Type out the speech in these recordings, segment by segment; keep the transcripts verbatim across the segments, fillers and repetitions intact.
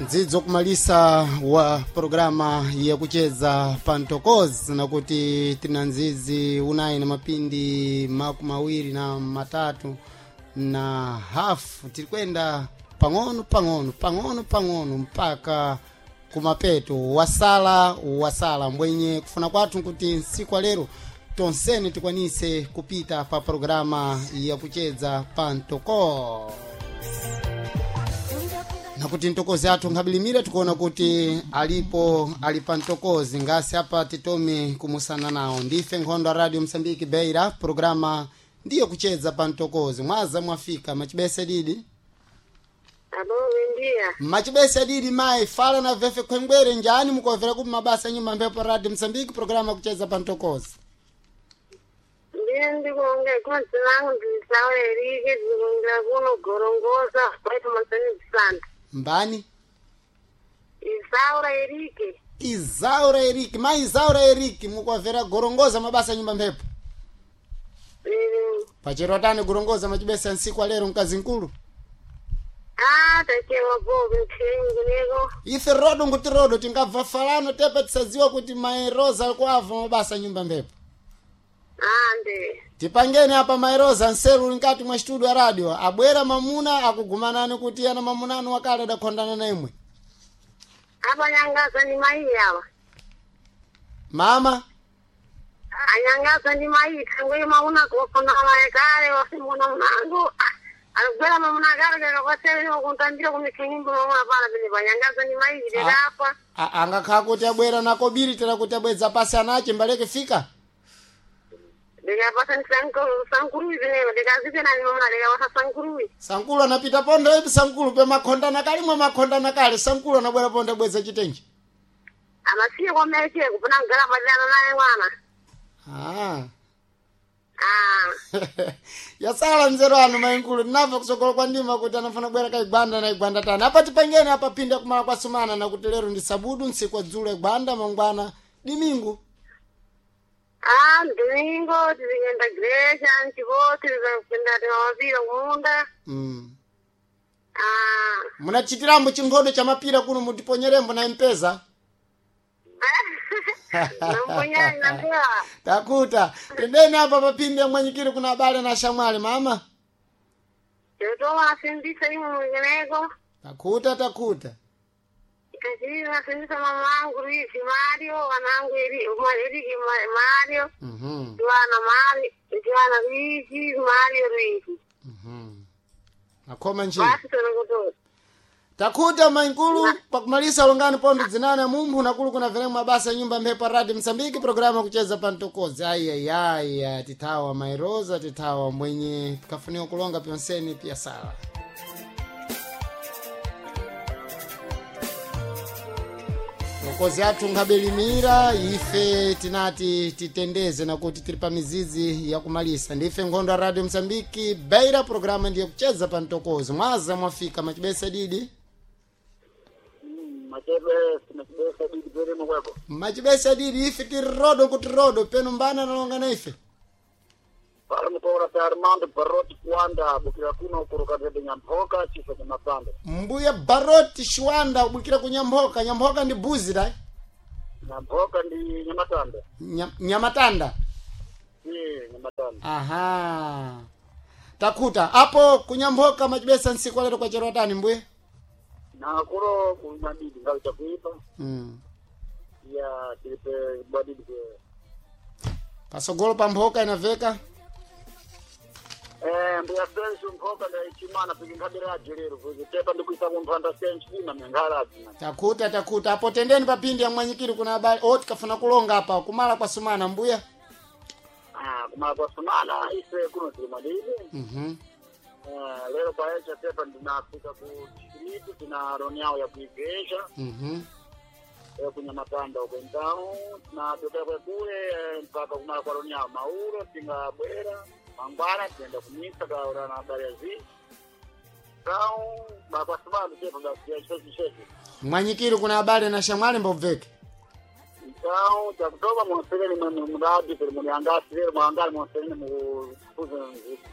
Ndzidzo kumalisa wa programa yakucheza pantokozi nakuti tina nzizi unayi na mapindi makumi awiri na matatu na hafu tirikwenda pang'ono pang'ono pang'ono pang'ono mpaka kumapeto wasala wasala mbwenye kufuna kwathu nkuti nsiku lero tonsene tikwanise kupita pa programa yakucheza pantokozi nakuti ntokozi athu nkabilimira tikuona kuti alipo ali pa ntokozi ngasi apa titome kumusana nawo ndife nkhondo a radio msambiki beira programa ndiyo kucheza pa ntokozi mwaza mwafika machibese didi Abo wendia. machibese didi mayi fala na vefe khwengwere njani mukovera kuti mabasa nyuma mphepo radio msambiki programa kucheza pa ntokozi Ndiye ndikonge konse langu ndisawe erike ndikongera kuno gorongosa kwaito masani bisanta. mbani Isaura erike. izaura eriki mayi izaura eriki mukovera gorongoza mabasa nyumba mphepo Mm. pachero tani gorongoza machibese nsiku alero mkazi nkulu Ah, tachewa bobe nthengu neko. ife rodo nguti rodo tingabva falano tepa tisadziwa kuti mai rosa alikuava mabasa nyumba mphepo Ah, nde. tipangeni apa mai rosa nseru uli nkati mwa studio ya radio abwera mamuna akugumanani kuti ana mamunanu wakale adakhondana na imwe Apa nyangaza ndi mai yawa. mama Anyangaza ndi mai thangwe mauna kofuna mai kale wasimuna mnangu. Alugwera mamuna kale kaka kwasele kuntambira kumithengu mamuna pala pene panyangaza ndi mai ndidapa. A- angakhala kuti abwera nakobiri tera kuti abwedza pasi anache mbaleke fika Ndikapasa sankuruwi zineyo ndikazipena mamuna ndikapasa sankuruwi. sankulu anapita pondo ipi sankulu pemakhondana kalimwe makhondana kale sankulu anabwera pondo abwedza chitenji Amasiye kwameche kupuna kugara padana naye mwana. ah. Ah, yasala mzero anu mainkulu tinabva kusokolo kwa ndima kuti anafuna kubwera kaigwanda na igwanda tani apa tipangeni apa pinda kumala kwa sumana nakuti lero ndi sabudu ntsiku adzulo igwanda mangwana dimingu ah, domingo tizikenda greja nchipoti tizakupinda timamapira kumunda. mm. Ah, munachitirambo chinkhodo cha mapira kuno mutiponyerembo na mpeza namponyani nampewa. takuta tendeni apa papinde mwanyikiri kuna abale na shamwali mama Chotoma nasimbisa imwe mwengeneko. takuta takuta Kachiri nasimbisa mama angu Luisi Mario, wanangu Eri- Ma- Eriki Ma- Mario, mm-hmm. Joana Mario, Joana Luisi, Mario Luisi. mm-hmm. akoma njini Basi tonokutoa. takuta mainkulu pakumalisa longani pondo dzinane mumphu nakulu kuna venemu mabasa ya nyumba mphepo radio msambiki programa kucheza pantokozi aiyaiya tithawa mairoza tithawa mwenye tikafuniwa kulonga pyonseni pya sala tokozi athu nkhabelimira ife tinati titendeze nakuti tili pa mizizi yakumalisa ndife nkhondo ya radio msambiki beira programa ndiye kucheza pa mtokozi mwaza mwafika machibesa didi machebe machibesa didi perimo kweko machibesa didi ife tiri rodo kuti rodo peno mbana analonga na ife pali mukora pa Armando Baroti kuanda bukira kuno kuruka vede nyamphoka chifo cha mapando mbuya baroti shiwanda ubukira ku nyambhoka nyambhoka ndi buzi dai nyamphoka ndi nyamatanda Nya- nyamatanda eh nyamatanda aha takuta apo kunyambhoka machibesa nsiku alero kwachero atani mbuya na kuno kumadidi ngalo chakuipa mm. ya tilipe bwadidi ke pasogolo pa mphoka inaveka eh mbuya sensu mphoka nda ichimana pikingabiraje lero kuzitepa ndikuisa kumphanda sensu ina mengalaji takuta takuta apo tendeni papindi ya mwanyikiri kuna habari o tikafuna kulonga apa kumala kwa sumana mbuya ah kumala kwa sumana ise kuno tili mwadidi mm-hmm. Eh, lero kwa echa tepa ndinafika ku distritu tina roni yawo ya kuigesha Mm-hmm. eh, kunyamatanda uko então tinatokera kwekule eh, mpaka kumala kwa roni yawo maulo tingabwera mangwana tiyenda kumisa kaura na habari ya zi então bakwasumana tepa basi ya chechi chechi mwanyikiri kuna habari na shamwali mbobveke então Então takutoma monseleni mwe muradi kuli muliangasi lero mwangali monseleni mukuze.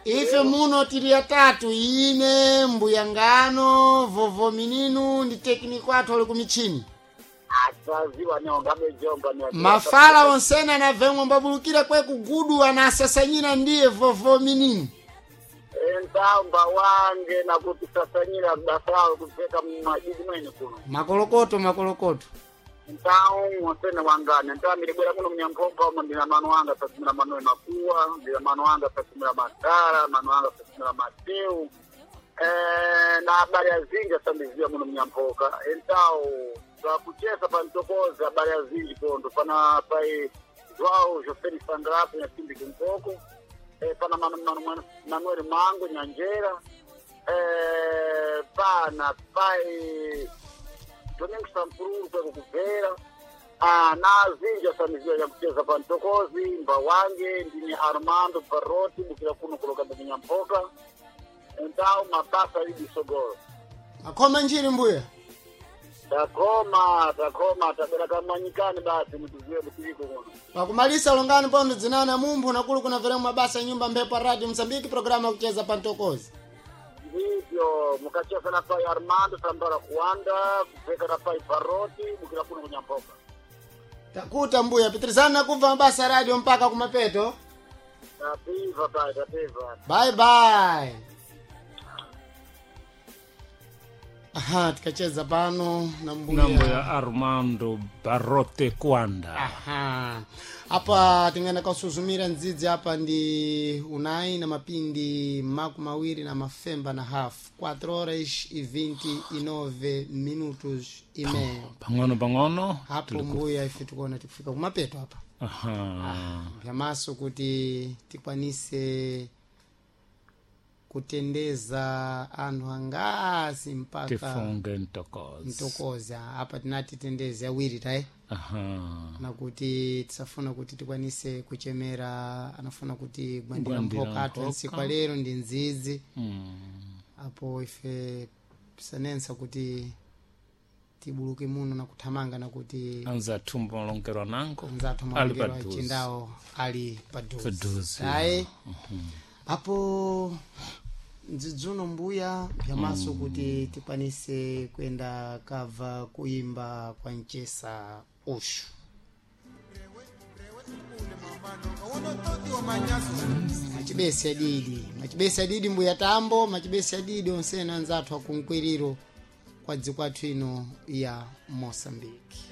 Ife muno tili atatu, ine mbuya ngano vovo mininu ndi tekniko athu ali kumichini. Asaziwa nyonga bejonga ni Mafala onsena anavemwe mbabulukira kwe kugudu anasasanyira ndiye vovo mininu. Entamba wange nakuti sasanyira basawo kupeka mumajiji mwene kuno. Makolokoto makolokoto. Então monsene wangane então milibwera muno mnyampompa umo ndina mano anga sasimira manoe makuwa ndina mano anga sasimira matara mano anga sasimira mateu eh, na habari azinji asambiziwa muno mnyampoka. Então twakuchesa pantokoza habari azinji pondo pana pai Joao José Sandrapo nyasimbi kimpoko eh, pana mano, mano, mano, Manuel Mango Nyanjera eh, pana pai Domingo Sampururu kweko kubvera. Ah, na azinji asamiziwa yakucheza pantokozi mbawange ndine Armando Baroti bukira kuno kuloka ndinyampoka. Então mabasa idi sogoro. Makhoma njiri mbuya. Takoma takoma tabera kamwanyikani basi mutiziwe mutiliko kuno. Pakumalisa longani pondo dzinana mumphu nakulu kuna mabasa nyumba mphepo ya radio Msambiki programa yakucheza pantokozi. Ndivyo mukacheza na pai Armando Sambara kuanda kupeka na pai Baroti bukira kuno kunyampoka. Takuta mbuya pitirizana nakubva mabasa ya radio mpaka kumapeto. Tapiva pai tapiva. Bye bye. Aha, tikacheza pano na mbuya. Nambo ya Armando Barote Kwanda. Aha. Apa tingenda kausuzumira ndzidzi apa ndi unai na mapindi maku mawiri na mafemba na hafu quatro horas e vinte e nove minutos e meio. Pang'ono pang'ono. Hapo mbuya ife tikuona tikufika kumapeto apa. Aha. Vyamaso kuti tikwanise kutendeza anthu angasi mpaka Tifunge ntokozi. mtokoza apa tinati tendeze awiri tayi. Aha. Nakuti tisafuna kuti tikwanise kuchemera anafuna kuti gwandira Gwandira mphoka athu mphoka. ntsiku lero ndi nzizi. Mm. Apo ife tisanensa kuti tibuluke muno na kuthamanga nakuti Anzathu malongerwa nango. anzathu Ali malongerwa paduze. achindawo ali paduze. Paduze, Ayi apo ndzidzuno mbuya vyamaso kuti tikwanise kuyenda kabva kuimba kwa mchesa ushu. Machibesi adidi machibesi adidi mbuya tambo machibesi adidi onsena anzathu akunkwiriro kwa dziko athu ino ya Mosambiki.